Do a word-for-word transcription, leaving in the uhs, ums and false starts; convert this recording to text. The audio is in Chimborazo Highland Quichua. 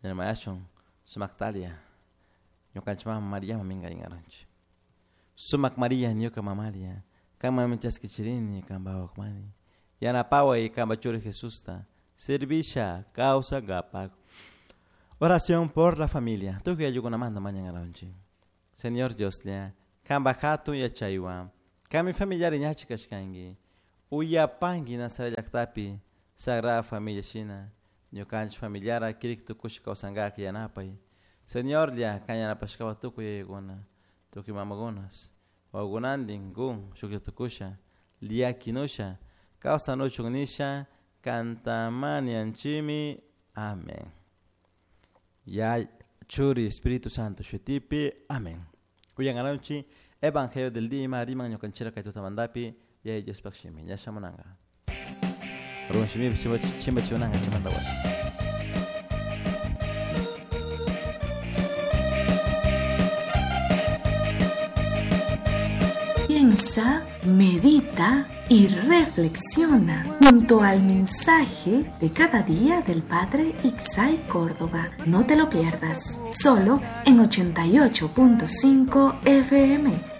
Nirmayashun sumaktalia ñukanchik mama Mariaman minkarinkaranchik. Sumak Maria ñuka mamalia kanmanmi chaskichirini kanpa wawakmani yanapaway kanpa churi Jesusta servisha kawsankapak. Oración por la familia. Tukuy ayllukunamanta mañankaranchik. Señor Dioslla kanpa hatun yachaywan kanmi familiari ñachik kashkanki uyapanki Nazaret llaqtapi Sagrada Familia shina ñukanchik familiara kirik tukushka kawsankak yanapay. Señorlla kan yanapashkawan tukuy yayakuna tukuy mamakunas wawakunantin kun shuklla tukusha llakinusha kawsanuchun nisha kantamanianchikmi. Amén. Ya Churi Espíritu Santo shutipi. Amén. Uyankaranchik Evangelio del día riman ñukanchira kay tutamantapi Yaya Diospaq shimi ña shamunanka. Run shimipi chimba chimunanka chaymanta washa. Piensa, medita y reflexiona junto al mensaje de cada día del Padre Ixay Córdoba. No te lo pierdas, solo en ochenta y ocho punto cinco F M.